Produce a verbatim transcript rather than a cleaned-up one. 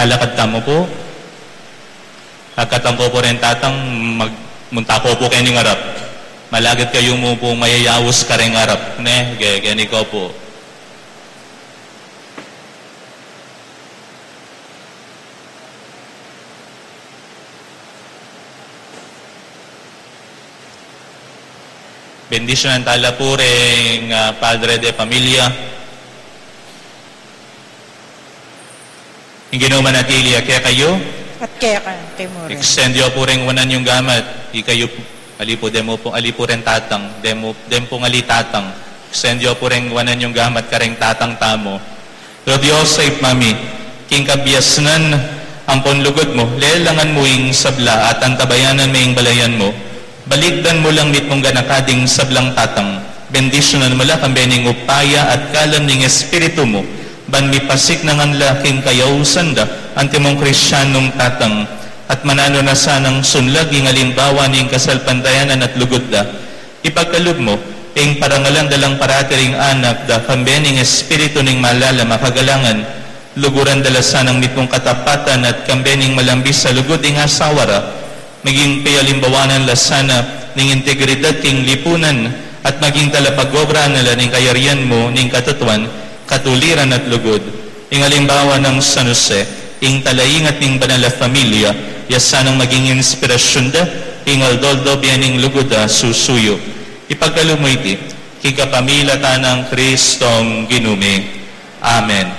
Lakad tamu pu. Akatan ko pu ring tatang, mag-, munta ko pu keni ngarap. Malagad kayu mu pu mayayaus karing arap, ne? Ge-, geni ko pu. Bendisyunan tala pu ring, ah, padre de pamilya. Ing Ginu manatili ya kekayu. At keka mu rin. Extend yu pu ring wanan yung gamat. Ikayu pu, ali pu, deng pu, ali pu ring tatang. Deng pu, deng pu ali tatang. Extend yu pu ring wanan yung gamat karing tatang tamu. O Dios, Ibpa mi, king kabiasnan ampon lugud mu, lelangan mu ing sabla at antabayanan me ing balayan mu. Balikdan mu lang mitmung ganaka ding sablang tatang. Bendisyunan mu la kambe ning upaya at kalam ning Espiritu mu, ban mipasiknangan la king kayausan da antimong Kristianong tatang, at mananu na sanang sunlag ing alimbawa ning kasalpantayanan at lugud da. Ipagkalub mu ing parangalan da lang parati ring anak da kambe ning Espiritu ning malalam a kagalangan, luguran da la sanang mitmung katapatan at kambe ning malambis a lugud ing asawa ra, maging pialimbawanan la sana ning integridad king lipunan, at maging talapag-obra na la ning kayarian mu ning katutuan, katuliran at lugud. Ing alimbawa nang San Jose, ing talaingat ning banal a familia, ya sanang maging inspirasyun da king aldo-aldo bie ning lugud a susuyu. Ipagkalub mu iti king kapamilatan nang Kristong Ginu mi. Amen.